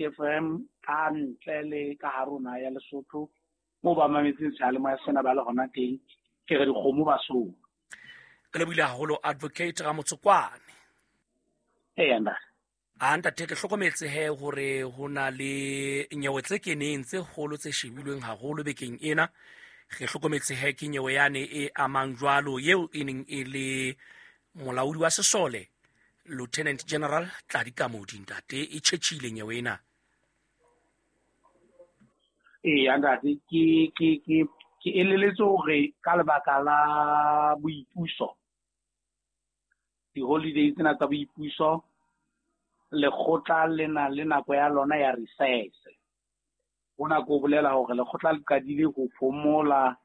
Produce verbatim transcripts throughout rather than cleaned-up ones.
F M ka ntle le ka hare ho naha ya Lesotho moo ba mametseng seyalemoya sena ba le hona teng, ke re dikgomo ba sona. Ke lebohile haholo Advocate Ramotsokwane. Eya ntate. A ntate, ke hlokometse he hore ho na le nyewe tse keneng tse kgolo tse shebilweng haholo bekeng ena. Re hlokometse he ke nyewe yane e amang jwalo eo e neng e le molaodi wa sesole Lieutenant General Tladi Kamodi ntate, e tjhetjhile nyewe ena. Eya ntate, ke ke ke ke eleletse hore ka lebaka la boipuso, di-holiday tsena tsa boipuso, lekgotla le na le nako ya lona ya recess. Hona ko bolela hore lekgotla le qadile ho phomola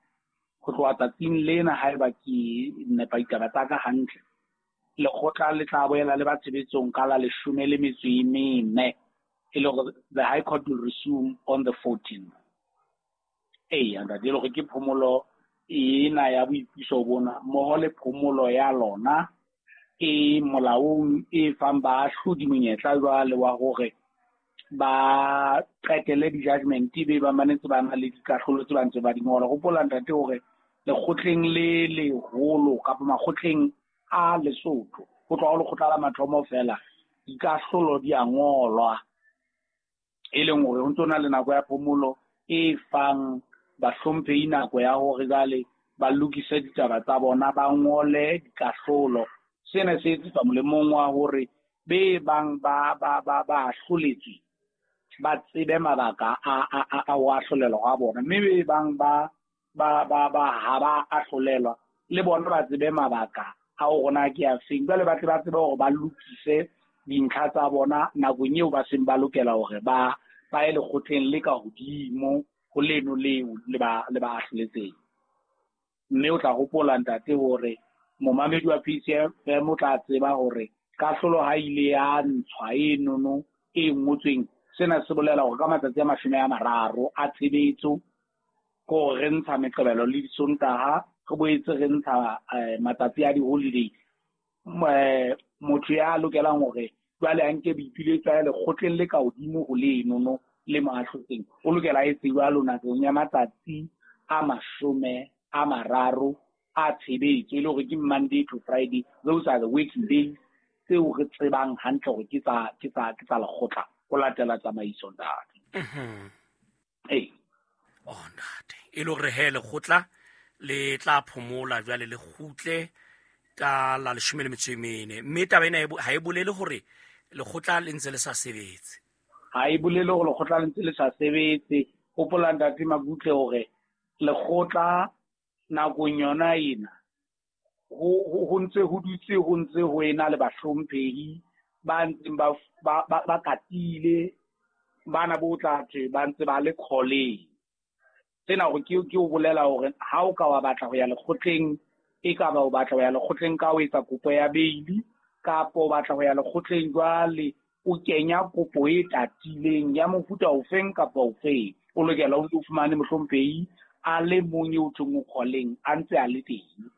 ho tloha tsatsing lena haeba ke nepa ditaba tsa ka hantle. Lekgotla le tla boela le ba tshebetsong ka la leshome le metso e mene, e le hore the High Court will resume on the fourteenth. Eya ntate, e le hore ke phomolo ena ya boipuso bona mmoho le phomolo ya lona e molaong e fang baahlodi monyetla jwale wa hore ba qetele di-judgment be ba manetse ba na le dikahlolo tse ba ntse ba di ngola. Hopola ntate hore lekgotleng le leholo kapa makgotleng a Lesotho, ho tloha ho lekgotla la mathomo fela, dikahlolo di a ngolwa, e leng hore ho ntso na le nako ya phomolo e fang bahlomphehi nako ya hore jwale ba lokise ditaba tsa bona, ba ngole dikahlolo. Sena se etsetswa molemong wa hore be bang ba ba ba ba ahloletswe ba tsebe mabaka a a a a ho ahlolelwa hwa bona, mme be bang ba ba ba ba ha ba ahlolelwa le bona ba tsebe mabaka a hore na ke a feng. Jwale ba tle ba tsebe hore ba lokise dintlha tsa bona nakong eo ba seng ba lokela hore ba ba ye lekgotleng le ka hodimo ho leno leo le ba le ba ahloletseng. Mme o tla hopola ntate hore momamedi wa P C F M o tla tseba hore kahlolo ha ile ya ntshwa e nono e ngotsweng, sena se bolela hore ka matsatsi a mashome a mararo a tshebetso, ke hore re ntsha Meqebelo le Disontaha, re boetse re ntsha, eh, matsatsi a di-holiday. Eh, motho ya lokelang hore jwale a nke boipiletso a ye lekgotleng le ka hodimo ho lenono le mo ahlotseng, o lokela a etse jwalo nakong ya matsatsi a mashome a mararo a tshebetso, e le hore ke Monday to Friday. Those are the working days tseo re tsebang hantle hore ke tsa, ke tsa, ke tsa lekgotla ho latela tsamaiso ntate. Mhm. Ee. Oh ntate, e le hore he lekgotla le tla phomola jwale le kgutle ka la leshome le metso e mene, mme taba ena e bo-, ha e bolele hore lekgotla le ntse le sa sebetse. Ha e bolele hore lekgotla le ntse le sa sebetse. Hopola ntate Mabutle hore lekgotla nakong yona ena ho, ho, ho ntse ho dutse ho ntse ho ena le bahlomphehi ba ntseng ba, ba, ba, ba katile, bana bo tla thwe ba ntse ba le kgoleng. Sena hore ke, ke ho bolela hore ha o ka wa batla ho ya lekgotleng, e ka ba o batla ho ya lekgotleng ka ho etsa kopo ya beili, kapa o batla ho ya lekgotleng jwale o kenya kopo e tatileng ya mofuta ofeng kapa ofeng, o lokela o fumane mohlomphehi a le mong eo thweng o kgoleng a ntse a le teng.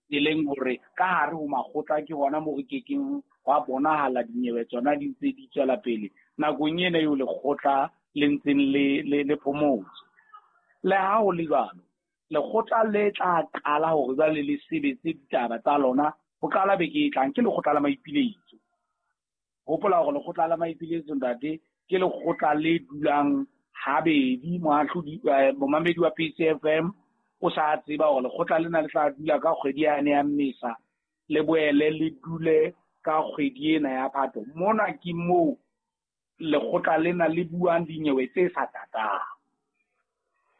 E leng hore ka hare ho makgotla ke hona moo re kekeng hwa bonahala dinyewe tsona di ntse di tswela pele nakong ena eo lekgotla le ntseng le, le, le phomotse. Le ha ho le jwalo, lekgotla le tla qala hore jwale le sebetse ditaba tsa lona ho qala beke e tlang, ke lekgotla la maipiletso. Hopola hore lekgotla la maipiletso ntate ke lekgotla le dulang habedi. Moahlodi, eh, momamedi wa P C F M o sa tseba hore lekgotla lena le tla dula ka kgwedi yane ya Mmesa, le boele le dule ka kgwedi ena ya Phato. Mona ke moo lekgotla lena le buang dinyewe tse sa tatang,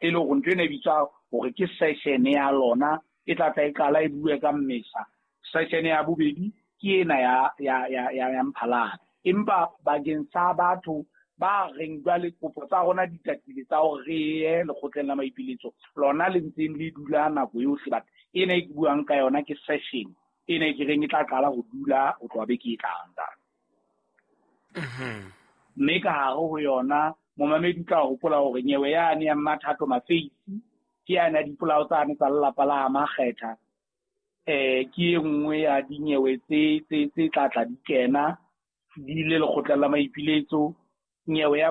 e le hore ntho ena e bitswa hore ke session ya lona e tla tla e qala e bue ka Mmesa. Session ya bobedi ke ena ya, ya, ya, ya, ya Mphalane. Empa bakeng sa batho ba reng jwale kopo tsa rona di tatile tsa hore re ye lekgotleng la maipiletso, lona le ntseng le dula nako yohle, but ena e ke buang ka yona ke session ena e ke reng e tla qala ho dula ho tloha beke e tlang ntate. Mhm. Mme ka hare ho yona momamedi o tla hopola hore nyewe yane ya Mmathato Mafeisi ke yane ya dipolao tsane tsa lelapa la Makgetha, eh, ke e nngwe ya dinyewe tse, tse, tse tla tla di kena di ile lekgotleng la maipiletso, Nyewe ya